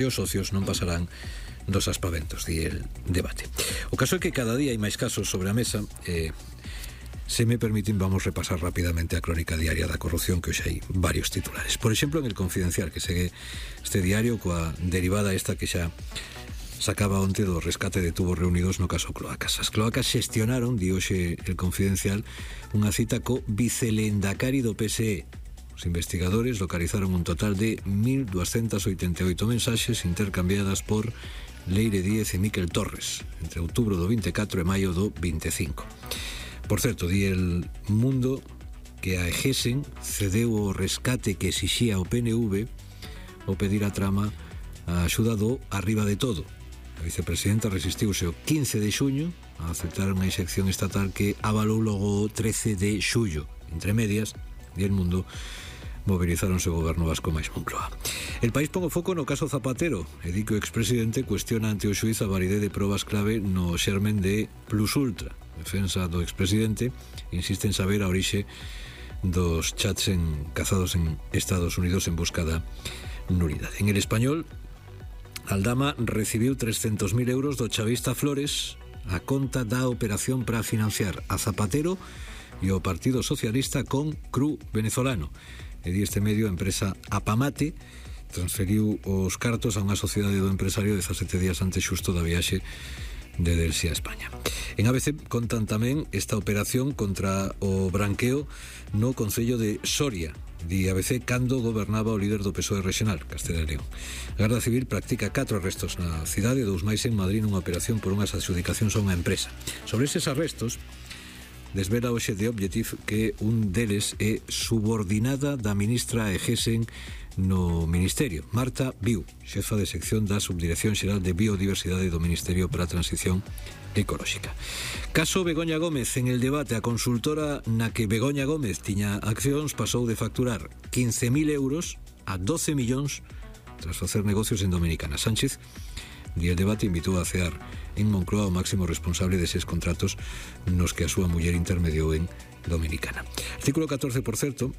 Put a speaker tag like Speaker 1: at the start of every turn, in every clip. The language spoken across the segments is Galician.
Speaker 1: e os socios non pasarán dos aspaventos, di el debate. O caso é que cada día hai máis casos sobre a mesa. Se me permiten, vamos a repasar rápidamente a crónica diaria da corrupción, que hoxe hai varios titulares. Por exemplo, en El Confidencial, que segue este diario coa derivada esta que xa sacaba onte do rescate de tubos reunidos no caso Cloacas. As Cloacas xestionaron, di hoxe El Confidencial, unha cita co vicelendacari do PSE. Os investigadores localizaron un total de 1.288 mensaxes intercambiadas por Leire Díez e Miquel Torres entre outubro do 24 e maio do 25. Por certo, di El Mundo que a Egesen cedeu o rescate que exixía o PNV ao pedir a trama a axuda do Arriba de Todo. A vicepresidenta resistiuse o 15 de xuño a aceptar unha excepción estatal que avalou logo o 13 de xullo. Entre medias, di El Mundo, movilizáronse o goberno vasco máis Moncloa. El País pon o foco no caso Zapatero e di que o expresidente cuestiona ante o xuiz a validez de probas clave no xermen de Plus Ultra. Defensa do expresidente insiste en saber a orixe dos chats cazados en Estados Unidos en busca da nulidade. En El Español, Aldama recibiu 300.000 euros do chavista Flores a conta da operación para financiar a Zapatero e o Partido Socialista con cru venezolano. E di este medio, a empresa Apamate transferiu os cartos a unha sociedade do empresario 17 días antes xusto da viaxe de Delsi a España. En ABC contan tamén esta operación contra o branqueo no Concello de Soria. Di ABC cando gobernaba o líder do PSOE regional, Castela e León. A Garda Civil practica 4 arrestos na cidade, 2 máis en Madrid nunha operación por unhas adxudicacións a unha empresa. Sobre eses arrestos, desvela hoxe The Objective que un deles é subordinada da ministra Egesen no Ministerio, Marta Viu, xefa de sección da Subdirección Xeral de Biodiversidade do Ministerio para a Transición Ecolóxica. Caso Begoña Gómez. En El Debate, a consultora na que Begoña Gómez tiña accións pasou de facturar 15.000 euros a 12 millóns tras facer negocios en Dominicana. Sánchez, di El Debate, invitou a cear en Moncloa o máximo responsable deses contratos nos que a súa muller intermediou en Dominicana. Artículo 14, por certo,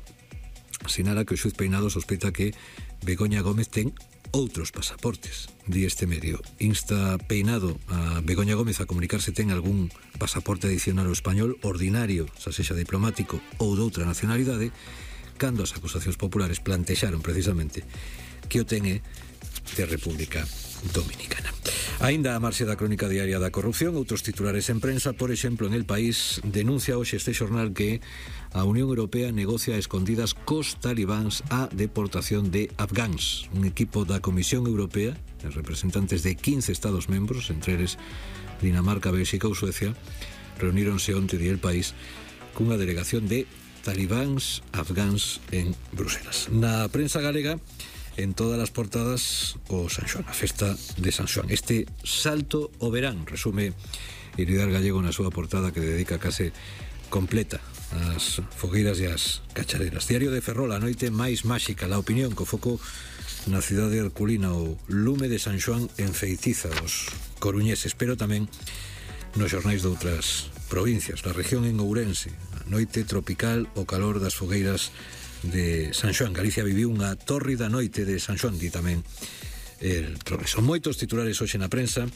Speaker 1: sinala que o xuiz Peinado sospeita que Begoña Gómez ten outros pasaportes. Di este medio. Insta Peinado a Begoña Gómez a comunicar se ten algún pasaporte adicional ao español ordinario, xa sexa diplomático ou doutra nacionalidade, cando as acusacións populares plantexaron precisamente que o ten de República Dominicana. Aínda a marxe da crónica diaria da corrupción, outros titulares en prensa. Por exemplo, en El País denuncia hoxe este xornal que a Unión Europea negocia a escondidas cos talibáns a deportación de afgáns. Un equipo da Comisión Europea, os representantes de 15 Estados membros, entre eles Dinamarca, Bélxica ou Suecia, reuníronse onte, di El País, cunha delegación de talibáns afgáns en Bruselas. Na prensa galega, en todas as portadas, o San Xoán, a festa de San Xoán. Este salto ao verán, resume Iridar Gallego na súa portada, que dedica case completa ás fogueiras e ás cachareras. Diario de Ferrol, a noite máis máxica, La Opinión, co foco na cidade herculina, o lume de San Xoán enfeitiza os coruñeses, pero tamén nos xornais de outras provincias. La Región, en Ourense, a noite tropical, o calor das fogueiras de San Xoán. Galicia viviu unha tórrida noite de San Xoán, di tamén El Progreso. Moitos titulares hoxe na prensa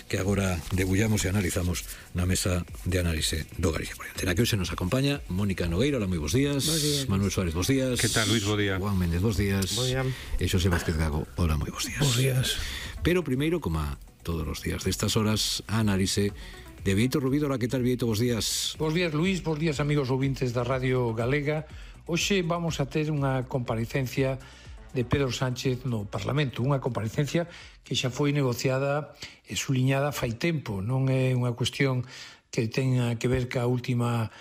Speaker 1: que agora debullamos e analizamos na mesa de análise do Galicia Corriente. Na que hoxe nos acompaña Mónica Nogueira. Hola, moi bons días. Manuel Suárez, bons días.
Speaker 2: Que tal, Luis? Bo día.
Speaker 1: Juan Méndez, bons días.
Speaker 3: Bo día.
Speaker 1: E Xosé Vázquez Gago. Hola, moi bons días.
Speaker 3: Bons días.
Speaker 1: Pero primeiro, como a todos os días destas horas, a análise de Vieito Rubido. Hola, que tal, Vieito? Bons días.
Speaker 3: Bons días, Luis. Bons días, amigos ouvintes da Radio Galega. Hoxe vamos a ter unha comparecencia de Pedro Sánchez no Parlamento, unha comparecencia que xa foi negociada e suliñada fai tempo, non é unha cuestión que tenha que ver ca última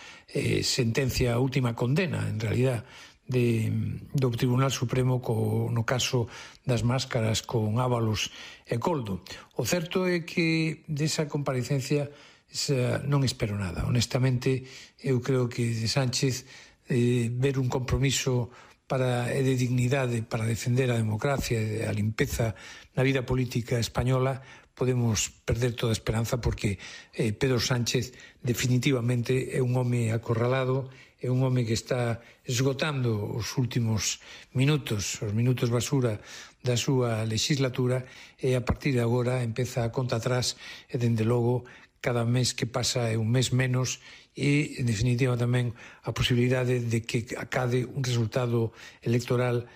Speaker 3: sentencia, a última condena, en realidad, do Tribunal Supremo no caso das máscaras con Ábalos e Coldo. O certo é que desa comparecencia non espero nada. Honestamente, eu creo que de Sánchez ver un compromiso de dignidade para defender a democracia e a limpeza na vida política española, podemos perder toda esperanza, porque Pedro Sánchez definitivamente é un home acorralado, é un home que está esgotando os últimos minutos, os minutos basura da súa legislatura e a partir de agora empeza a conta atrás e, dende logo, cada mes que pasa é un mes menos e, en definitiva, tamén a posibilidade de que acade un resultado electoral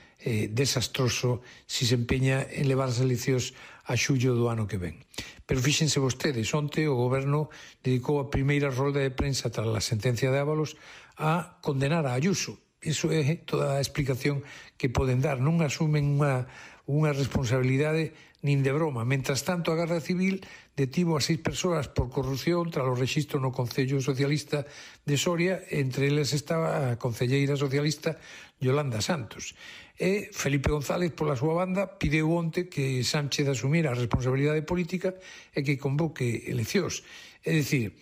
Speaker 3: desastroso si se empeña en levar as eleccións a xullo do ano que ven. Pero fíxense vostedes, onte o goberno dedicou a primeira rolda de prensa tras a sentencia de Ábalos a condenar a Ayuso. Iso é toda a explicación que poden dar. Non asumen unha responsabilidade nin de broma. Mentras tanto, a Garda Civil detivo a 6 persoas por corrupción tras o rexistro no Concello Socialista de Soria, entre eles estaba a concelleira socialista Yolanda Santos. E Felipe González, pola súa banda, pideu onte que Sánchez asumira a responsabilidade política e que convoque eleccións. É dicir,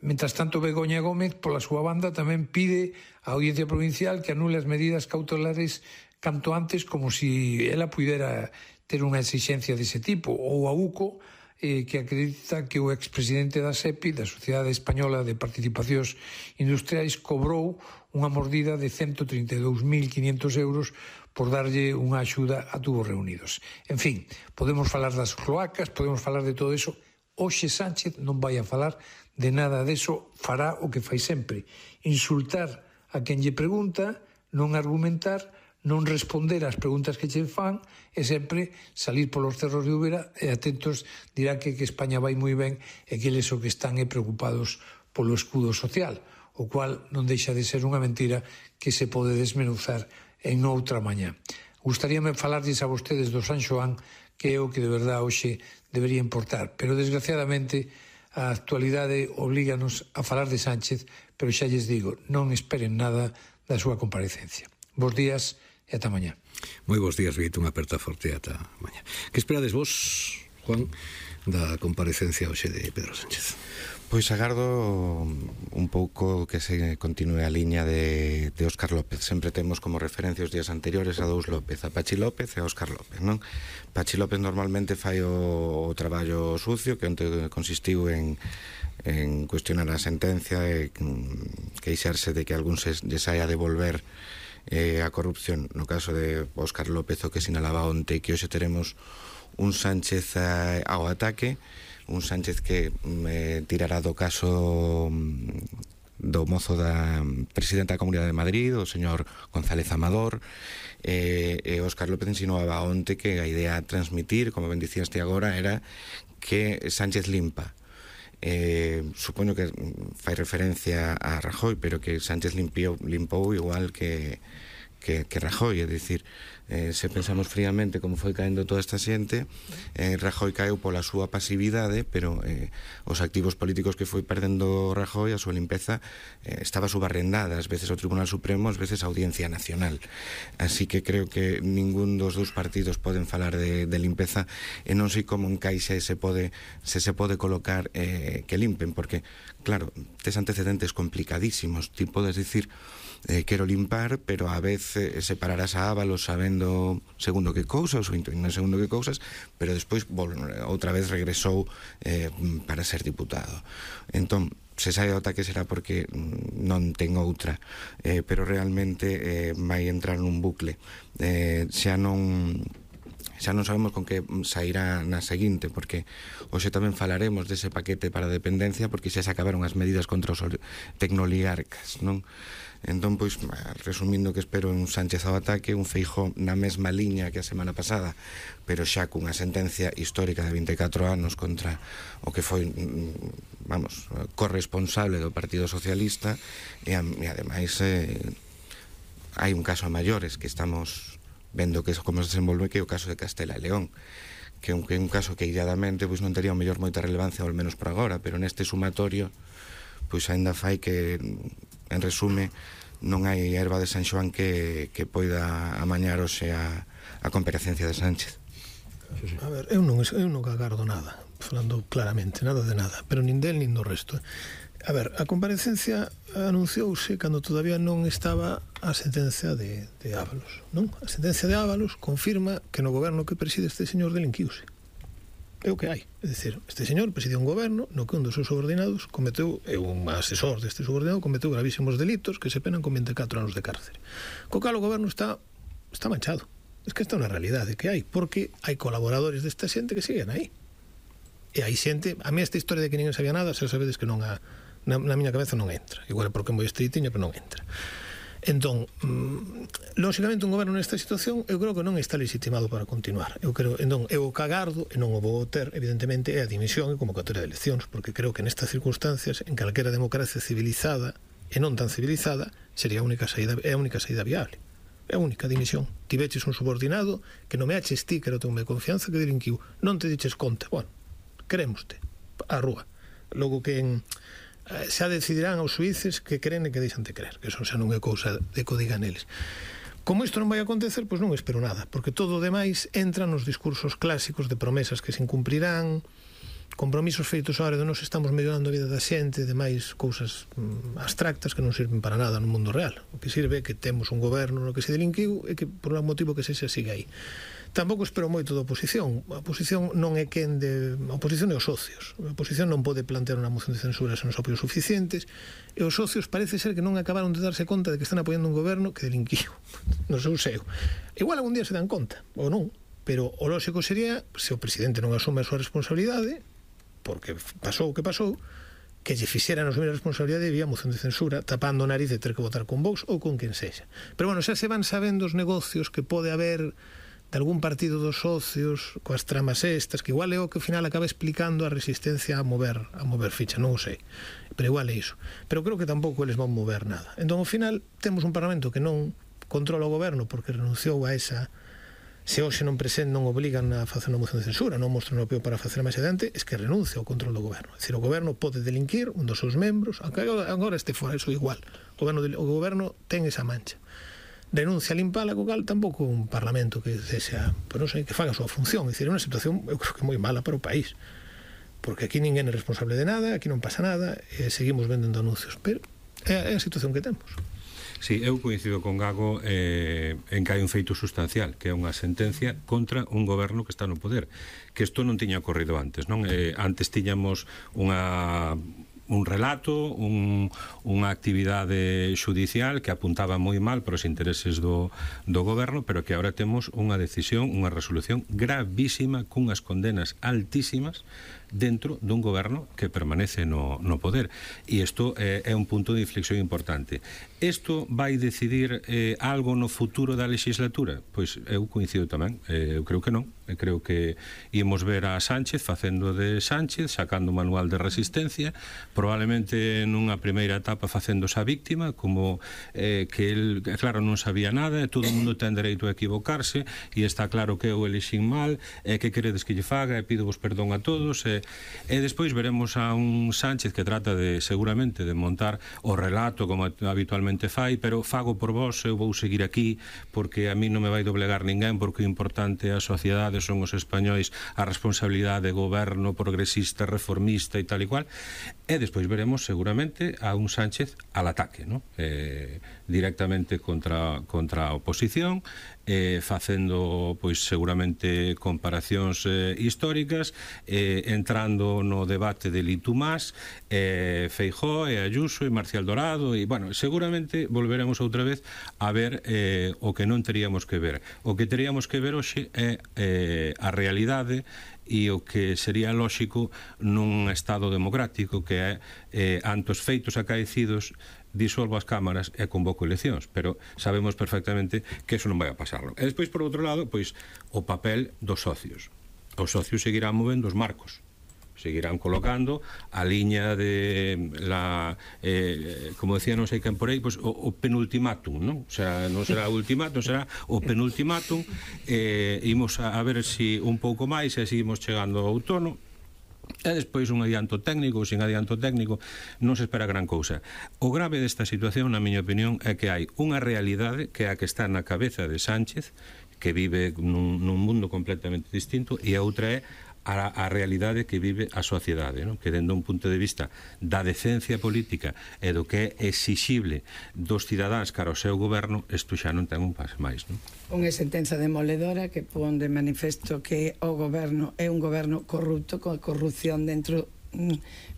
Speaker 3: mentras tanto, Begoña Gómez, pola súa banda, tamén pide a Audiencia Provincial que anule as medidas cautelares canto antes, como si ela pudera ter unha exixencia dese tipo, ou a UCO, que acredita que o expresidente da SEPI, da Sociedade Española de Participacións Industriais, cobrou unha mordida de 132.500 euros por darlle unha axuda a Tubos Reunidos. En fin, podemos falar das cloacas, podemos falar de todo eso. Hoxe Sánchez non vai a falar de nada deso, fará o que fai sempre: insultar a quen lle pregunta, non argumentar, non responder ás preguntas que che fan e sempre salir polos cerros de Úbeda e atentos dirá que España vai moi ben e que eles o que están é preocupados polo escudo social, o cual non deixa de ser unha mentira que se pode desmenuzar en outra mañá. Gustaríame falarlles a vostedes do San Xoán, que é o que de verdade hoxe debería importar, pero desgraciadamente a actualidade oblíganos a falar de Sánchez, pero xa lles digo, non esperen nada da súa comparecencia. Bos días e ata mañá.
Speaker 1: Moi bons días, Vito, unha aperta forte ata mañá. Que esperades vos, Juan, da comparecencia hoxe de Pedro Sánchez?
Speaker 2: Pois agardo un pouco que se continue a liña de Óscar López. Sempre temos como referencia os días anteriores a dous López, a Pachi López e a Óscar López, non? Pachi López normalmente fai o traballo sucio, que onte consistiu en cuestionar a sentencia e queixarse de que algún lle saia a devolver a corrupción. No caso de Óscar López, o que sinalaba onte, que hoxe teremos un Sánchez ao ataque, un Sánchez que tirará do caso do mozo da presidenta da Comunidade de Madrid, o señor González Amador, e Óscar López insinuaba onte que a idea a transmitir, como ben dicíaste agora, era que Sánchez limpa. Supoño que fai referencia a Rajoy, pero que Sánchez limpou igual que Rajoy, é dicir, se pensamos fríamente como foi caendo toda esta xente, Rajoy caeu pola súa pasividade, pero os activos políticos que foi perdendo Rajoy, a súa limpeza estaba subarrendada, ás veces ao Tribunal Supremo, ás veces á Audiencia Nacional. Así que creo que ningún dos dous partidos poden falar de limpeza, e non sei como encaixa se se pode colocar que limpen, porque, claro, tes antecedentes complicadísimos. Ti podes dicir quero limpar, pero a vez separarás a Ábalos sabendo segundo que cousas ou non segundo que cousas, pero despois outra vez regresou para ser diputado. Entón, se sai ao ataque será porque non ten outra, pero realmente vai entrar nun bucle. Xa non sabemos con que sairá na seguinte, porque hoxe tamén falaremos dese paquete para a dependencia, porque xa se acabaron as medidas contra os tecnoligarcas, non? Entón, pois, resumindo, que espero un Sánchez ao ataque, un Feijóo na mesma liña que a semana pasada, pero xa cunha sentencia histórica de 24 anos contra o que foi, vamos, corresponsable do Partido Socialista, e ademais hai un caso a maiores que estamos vendo que como se desenvolve, que é o caso de Castela e León, que é un caso que illadamente pois non tería o mellor moita relevancia, ao menos por agora, pero neste sumatorio pois aínda fai que, en resume, non hai erva de San Xoán que poida amañar hoxe a comparecencia de Sánchez.
Speaker 4: A ver, eu non agardo nada, falando claramente, nada de nada, pero nin del nin do resto. A ver, a comparecencia anunciouse cando todavía non estaba a sentencia de Ábalos, non? A sentencia de Ábalos confirma que no goberno que preside este señor delinquiuse. É o que hai. É dicir, este señor preside un goberno no que un dos seus subordinados cometeu, un asesor deste subordinado, cometeu gravísimos delitos que se penan con 24 anos de cárcere. Co cal o goberno está manchado. Es que esta é unha realidade que hai, porque hai colaboradores desta xente que siguen aí. E hai xente, a mí esta historia de que ninguén sabía nada, xa sabedes que non na miña cabeza non entra. Igual é porque é moi estritiña, pero non entra. Entón, lógicamente un goberno nesta situación eu creo que non está legitimado para continuar. Entón, eu o cagardo, e non o vou ter, evidentemente, é a dimisión e convocatoria de eleccións, porque creo que nestas circunstancias, en calquera democracia civilizada e non tan civilizada, sería a única saída viable. É a única dimisión. Tiveches un subordinado que non me aches ti, que era o teu de confianza, que delinquiu. Non te diches conta. Bueno, querémoste. A rúa. Logo que xa decidirán os suíces que creen e que deixan de creer, que eso xa non é cousa de que o digan eles. Como isto non vai acontecer, pois non espero nada, porque todo o demais entra nos discursos clásicos de promesas que se incumprirán, compromisos feitos a hora de nos estamos mellorando a vida da xente, de máis cousas abstractas que non sirven para nada no mundo real. O que sirve é que temos un goberno no que se delinquiu e que por un motivo que sexa siga aí. Tampouco espero moito da oposición. A oposición non é quen de... A oposición é os socios. A oposición non pode plantear unha moción de censura sen os apoios suficientes, e os socios parece ser que non acabaron de darse conta de que están apoiando un goberno que delinquiu no seu seo. Igual algún día se dan conta, ou non, pero o lógico sería, se o presidente non asume a súa responsabilidade, porque pasou o que pasou, que lle fixeran asumir a responsabilidade vía moción de censura, tapando o nariz de ter que votar con Vox ou con quen sexa. Pero bueno, xa se van sabendo os negocios que pode haber de algún partido dos socios coas tramas estas, que igual é o que ao final acaba explicando a resistencia a mover ficha, non o sei, pero igual é iso. Pero creo que tampouco eles van mover nada. Entón, ao final, temos un Parlamento que non controla o goberno porque renunciou a esa... Se hoxe non obligan a facer unha moción de censura, non mostran o apoio para facer máis adiante, es que renuncia ao control do goberno. É dicir, o goberno pode delinquir un dos seus membros, aunque agora este fora, eso igual. O goberno ten esa mancha. Renuncia a limpala, co cal tampouco un parlamento que sexa, pero non sei, que faga a súa función. É dicir, é unha situación, eu creo que moi mala para o país, porque aquí ninguén é responsable de nada, aquí non pasa nada, e seguimos vendendo anuncios, pero é a situación que temos.
Speaker 5: Sí, eu coincido con Gago en que hai un feito sustancial, que é unha sentencia contra un goberno que está no poder, que isto non tiña ocorrido antes, non? Antes tiñamos un relato, unha actividade xudicial que apuntaba moi mal para os intereses do goberno, pero que agora temos unha decisión, unha resolución gravísima, cunhas condenas altísimas dentro dun goberno que permanece no poder. E isto é un punto de inflexión importante. Isto vai decidir algo no futuro da legislatura? Pois eu coincido tamén, eu creo que non. Eu creo que íamos ver a Sánchez facendo de Sánchez, sacando o manual de resistencia, probablemente nunha primeira etapa facéndose a víctima, como que el, claro, non sabía nada, e todo o mundo ten dereito a equivocarse, e está claro que eu elixín mal, e que queredes que lle faga, e pido vos perdón a todos, e despois veremos a un Sánchez que trata de, seguramente, de montar o relato como habitualmente fai, pero fago por vos, eu vou seguir aquí, porque a mí non me vai doblegar ninguén, porque o importante é a sociedade, son os españois, a responsabilidade de goberno progresista, reformista e tal e cual, e despois veremos seguramente a un Sánchez al ataque, ¿no? Directamente contra a oposición, facendo pois seguramente comparacións históricas, entrando no debate de Litumás, Feijóo e Ayuso e Marcial Dorado, e bueno, seguramente volveremos outra vez a ver o que non teríamos que ver. O que teríamos que ver hoxe é a realidade e o que sería lóxico nun Estado democrático, que é ante os feitos acaecidos disolvo as cámaras e convoco eleccións, pero sabemos perfectamente que eso non vai a pasarlo. E despois, por outro lado, pois o papel dos socios. Os socios seguirán movendo os marcos, seguirán colocando a liña de como decía non sei quen por aí, pois o penultimátum, non? O sea, non será o ultimátum, será o penultimátum. Imos a ver se un pouco máis e seguimos chegando ao outono. E despois un adianto técnico ou sin adianto técnico non se espera gran cousa. O grave desta situación, na miña opinión, é que hai unha realidade que é a que está na cabeza de Sánchez, que vive nun mundo completamente distinto, e a outra é a realidade que vive a sociedade, non? Que dende un punto de vista da decencia política e do que é exixible dos cidadáns cara ao seu goberno, isto xa non ten un pas máis, non?
Speaker 6: Unha sentenza demoledora que pon de manifesto que o goberno é un goberno corrupto, con corrupción dentro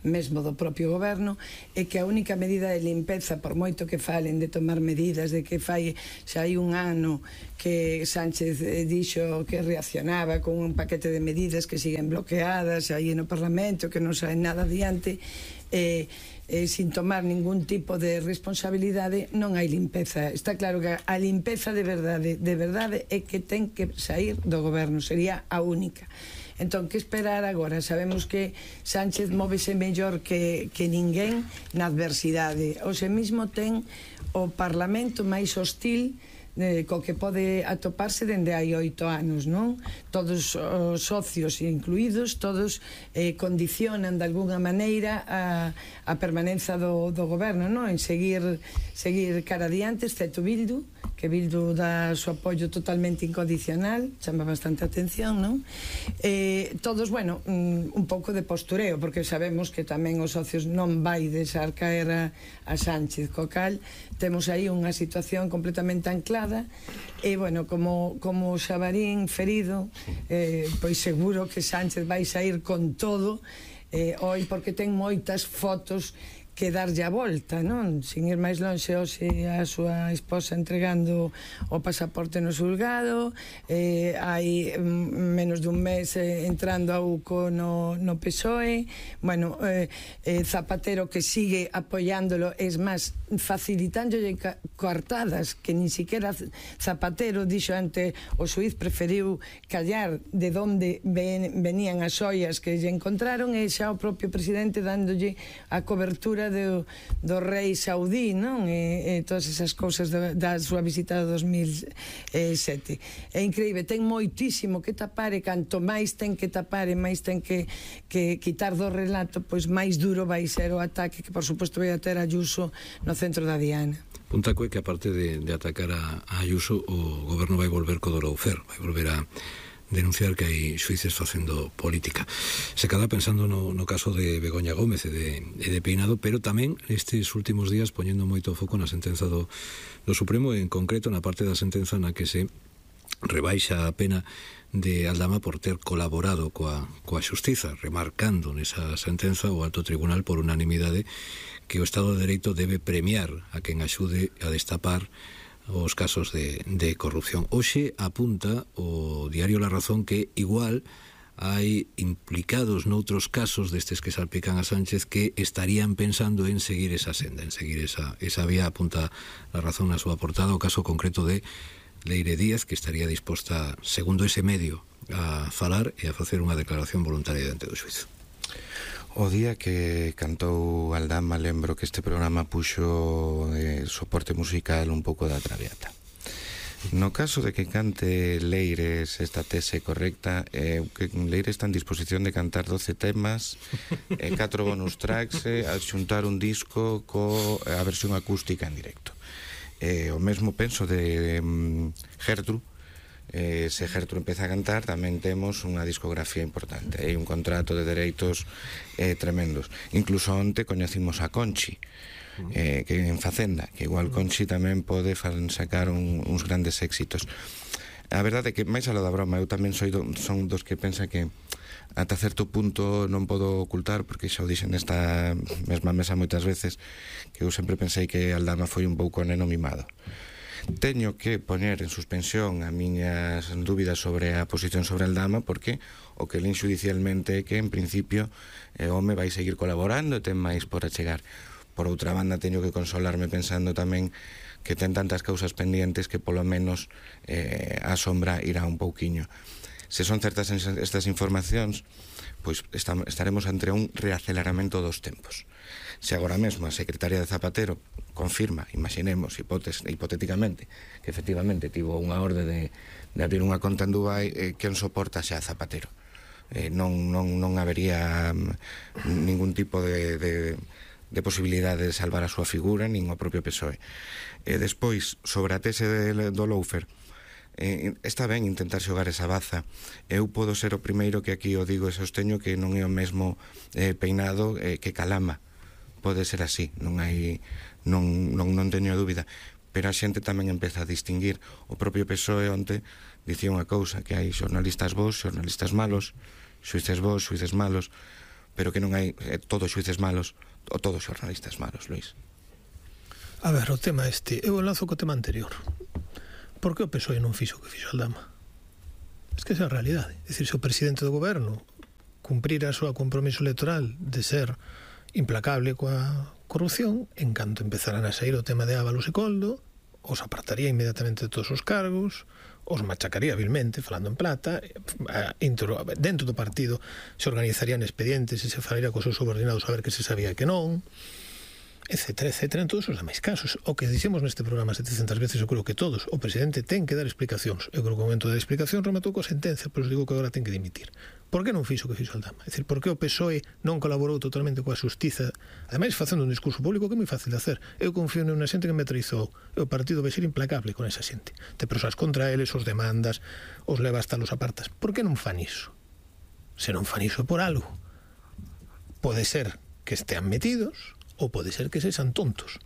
Speaker 6: mesmo do propio goberno, e que a única medida de limpeza, por moito que falen de tomar medidas, de que fai xa hai un ano que Sánchez dixo que reaccionaba con un paquete de medidas que siguen bloqueadas aí no Parlamento, que non saen nada adiante, sin tomar ningún tipo de responsabilidade, non hai limpeza. Está claro que a limpeza de verdade é que ten que sair do goberno, sería a única. Entón, que esperar agora? Sabemos que Sánchez móvese mellor que ninguén na adversidade. Hoxe mesmo ten o Parlamento máis hostil co que pode atoparse dende hai 8 anos, non? Todos os socios incluídos, todos condicionan de alguna maneira a permanenza do goberno, non? En seguir cara adiante, excepto Bildu, que Bildu dá o seu apoio totalmente incondicional, chama bastante atención, non? Todos, bueno, un pouco de postureo, porque sabemos que tamén os socios non vai deixar caer a Sánchez, co cal temos aí unha situación completamente anclada, e, bueno, como Xabarín ferido, pois seguro que Sánchez vai sair con todo hoy, porque ten moitas fotos que darlle a volta, non? Sin ir máis lonxe, hoxe a súa esposa entregando o pasaporte no xulgado, hai menos dun mes entrando a UCO no PSOE, bueno, Zapatero que sigue apoiándolo, es máis, facilitándolle coartadas que ni siquiera Zapatero dixo ante o xuiz, preferiu callar de onde venían as ollas que lle encontraron, e xa o propio presidente dándolle a cobertura do rei saudí, non? E todas esas cousas da súa visita do 2007. É increíble, ten moitísimo que tapar, e canto máis ten que tapar e máis ten que quitar do relato, pois máis duro vai ser o ataque que, por suposto, vai a ter Ayuso no centro da Diana.
Speaker 1: Puntaco é que, aparte de atacar a Ayuso, o goberno vai volver co Doroufer, vai volver a denunciar que hai xuíces facendo política. Se queda pensando no caso de Begoña Gómez e de Peinado, pero tamén estes últimos días poñendo moito foco na sentenza do Supremo, e en concreto na parte da sentenza na que se rebaixa a pena de Aldama por ter colaborado coa xustiza, remarcando nesa sentenza o Alto Tribunal por unanimidade que o Estado de Dereito debe premiar a quen axude a destapar os casos de corrupción. Hoxe apunta o diario La Razón que igual hai implicados noutros casos destes que salpican a Sánchez que estarían pensando en seguir esa senda, en seguir esa vía. Apunta La Razón na súa portada o caso concreto de Leire Díaz, que estaría disposta, segundo ese medio, a falar e a facer unha declaración voluntaria diante do xuízo.
Speaker 2: O día que cantou Aldama, lembro que este programa puxo soporte musical un pouco da Traviata. No caso de que cante Leire esta tese correcta, que Leire está en disposición de cantar 12 temas, 4 bonus tracks, a xuntar un disco coa versión acústica en directo. O mesmo penso de Gertrude. Se Gertrude empeza a cantar, tamén temos unha discografía importante, hai un contrato de dereitos tremendos. Incluso onte coñecimos a Conchi, que en Facenda, que igual Conchi tamén pode sacar uns grandes éxitos. A verdade é que, máis a lo da broma, eu tamén son dos que pensa que ata certo punto non podo ocultar, porque xa o dixen nesta mesma mesa moitas veces, que eu sempre pensei que Aldama foi un pouco neno mimado. Teño que poñer en suspensión a miñas dúbidas sobre a posición sobre Aldama, porque o que lin xudicialmente é que, en principio, o home vai seguir colaborando e ten máis por achegar. Por outra banda, teño que consolarme pensando tamén que ten tantas causas pendientes que polo menos a sombra irá un pouquiño. Se son certas estas informacións, pois estaremos entre un reaceleramento dos tempos. Se agora mesmo a secretaria de Zapatero confirma, imaginemos hipotéticamente, que efectivamente tivo unha orde de abrir unha conta en Dubai, quen soporta xa a Zapatero? Non habería ningún tipo de posibilidade de salvar a súa figura, nin o propio PSOE. Despois, sobre a tese do Loufer, está ben intentar xogar esa baza. Eu podo ser o primeiro que aquí o digo e sosteño que non é o mesmo Peinado que Calama. Pode ser así, non teño dúbida, pero a xente tamén empeza a distinguir. O propio PSOE onte dicía unha cousa, que hai xornalistas bons, xornalistas malos, xuíces bons, xuíces malos. pero que non hai todos xuíces malos ou todos xornalistas malos, Luís.
Speaker 4: A ver, o tema eu enlazo co tema anterior. Por que o PSOE non fixo o que fixo Aldama? Es que esa é a realidade. É dicir, se o presidente do goberno cumprira a súa compromiso electoral de ser implacable coa corrupción, en canto empezaran a sair o tema de Ábalos e Coldo, os apartaría inmediatamente de todos os cargos, os machacaría vilmente, falando en plata, dentro do partido se organizarían expedientes e se falaría cos seus subordinados a ver que se sabía que non, etcétera, etcétera, en todos os demais casos. O que dixemos neste programa 700 veces, eu creo que todos, o presidente ten que dar explicacións. Eu creo que o momento da explicación rematou coa sentencia, pero digo que agora ten que dimitir. Por que non fixo o que fixo Aldama? É dicir, por que o PSOE non colaborou totalmente coa xustiza, ademais facendo un discurso público que é moi fácil de hacer? Eu confío nunha xente que me traizou, e o partido vai ser implacable con esa xente. Te prosas contra eles, os demandas, os leva hasta los apartas. Por que non fan iso? Se non fan iso por algo. Pode ser que estean metidos, ou pode ser que sexan tontos.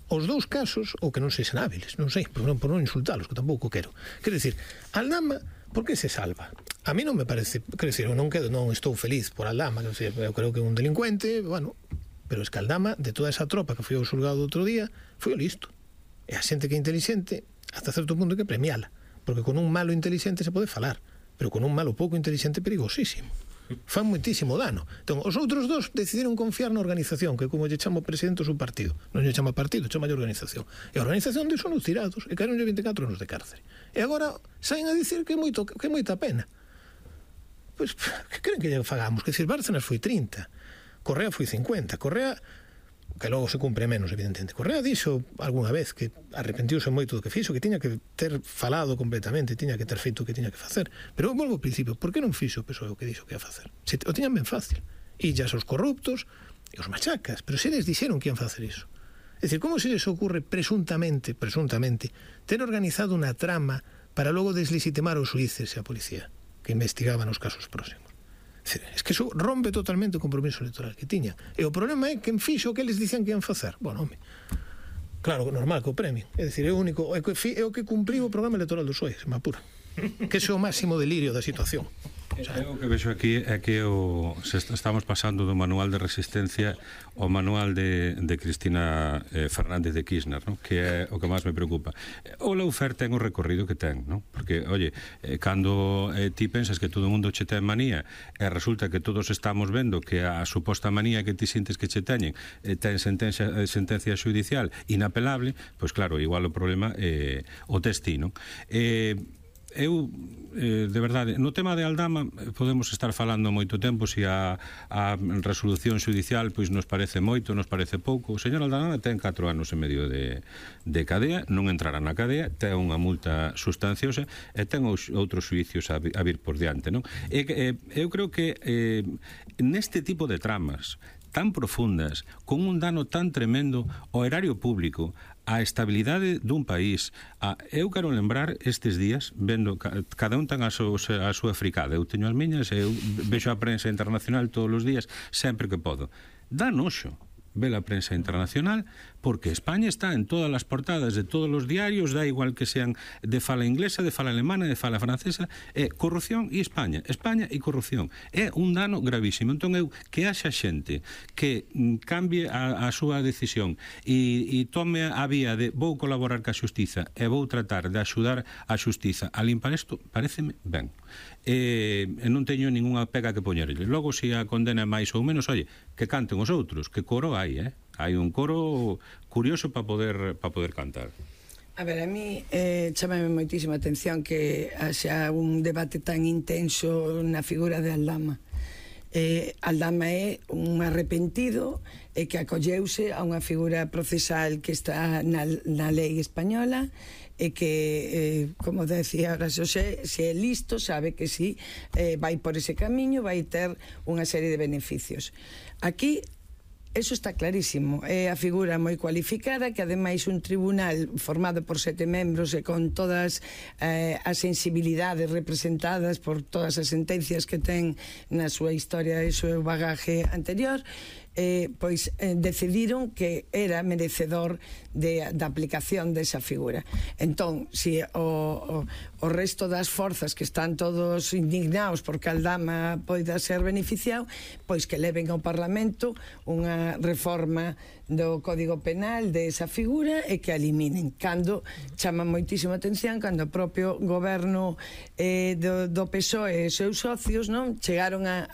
Speaker 4: Os dous casos, ou que non sexan hábiles, non sei, por non insultalos, que tampouco quero. Quero dicir, Aldama, por que se salva? A mí non me parece, quero dicir, non estou feliz por Aldama, eu creo que é un delincuente, bueno, pero es que Aldama, de toda esa tropa que foi ao xulgado outro día, foi o listo. E a xente que é inteligente, hasta certo punto hai que premiala, porque con un malo inteligente se pode falar, pero con un malo pouco inteligente perigosísimo. Fan moitísimo dano. Entón, os outros dos decidiron confiar na organización, que como lle chama o presidente o seu partido, non lle chama partido, chama lle organización. E a organización de son os tirados, e caeron 24 anos de cárcere. E agora saen a dicir que é moita pena. Pois, que creen que lle fagamos? Que dicir, Bárcenas foi 30, Correa foi 50, Correa, que logo se cumpre menos, evidentemente. Correa dixo algunha vez que arrepentiuse moito do que fixo, que tiña que ter falado completamente, tiña que ter feito o que tiña que facer. Pero volvo ao principio, por que non fixo o PSOE o que dixo que ia facer? Se o tiñan ben fácil. Illas aos corruptos e os machacas, pero se eles dixeron que ian facer iso. É dicir, como se les ocurre presuntamente, ter organizado unha trama para logo deslegitimar os xuíces e a policía que investigaban os casos próximos? Es que iso rompe totalmente o compromiso electoral que tiña. E o problema é que en fixo o que eles dicen que ian facer. Bueno, home, claro, normal que o premien. É dicir, é o que cumpriu o programa electoral do PSOE, se me apura. Que é o máximo delirio da situación.
Speaker 5: O que vexo aquí é que estamos pasando do manual de resistencia ao manual de Cristina Fernández de Kirchner, ¿no? Que é o que máis me preocupa. O Lawfare ten o recorrido que ten, ¿no? Porque, oye, cando ti pensas que todo o mundo che ten manía e resulta que todos estamos vendo que a suposta manía que ti sintes que che teñen ten sentencia judicial inapelable, pois claro, igual o problema o tes ti, ¿no? Eu, de verdade, no tema de Aldama podemos estar falando moito tempo se a resolución judicial pois nos parece moito, nos parece pouco. O señor Aldama ten 4 anos e medio de cadea, non entrará na cadea, ten unha multa sustanciosa e ten outros xuicios a vir por diante, non? Eu creo que neste tipo de tramas tan profundas, con un dano tan tremendo ao erario público, a estabilidade dun país. Eu quero lembrar estes días, vendo cada un ten a súa fricada, eu teño as miñas, eu vexo a prensa internacional todos os días, sempre que podo. Dá noxo ver a prensa internacional, porque España está en todas as portadas de todos os diarios, da igual que sean de fala inglesa, de fala alemana, de fala francesa, corrupción e España e corrupción. É un dano gravísimo. Entón eu, que haxa xente que cambie a súa decisión e tome a vía de vou colaborar ca xustiza e vou tratar de axudar a xustiza a limpar isto, pareceme ben. E non teño ningunha pega que poñerlle. Logo, se a condena máis ou menos, oye, que canten os outros, que coro hai, hai un coro curioso para poder cantar.
Speaker 6: A ver, a mí chámame moitísima atención que haxa un debate tan intenso na figura de Aldama. Aldama é un arrepentido e que acolleuse a unha figura procesal que está na lei española e que, como decía ahora Xosé, se é listo, sabe que si vai por ese camiño, vai ter unha serie de beneficios. Aquí eso está clarísimo, é a figura moi cualificada, que ademais un tribunal formado por 7 membros e con todas as sensibilidades representadas por todas as sentencias que ten na súa historia e o seu bagaje anterior, decidiron que era merecedor da aplicación desa figura. Entón, se o resto das forzas que están todos indignados porque Aldama poida ser beneficiado, pois que leven ao Parlamento unha reforma do Código Penal desa figura e que eliminen. Cando chama moitísima atención cando o propio goberno do PSOE e os seus socios, non, chegaron a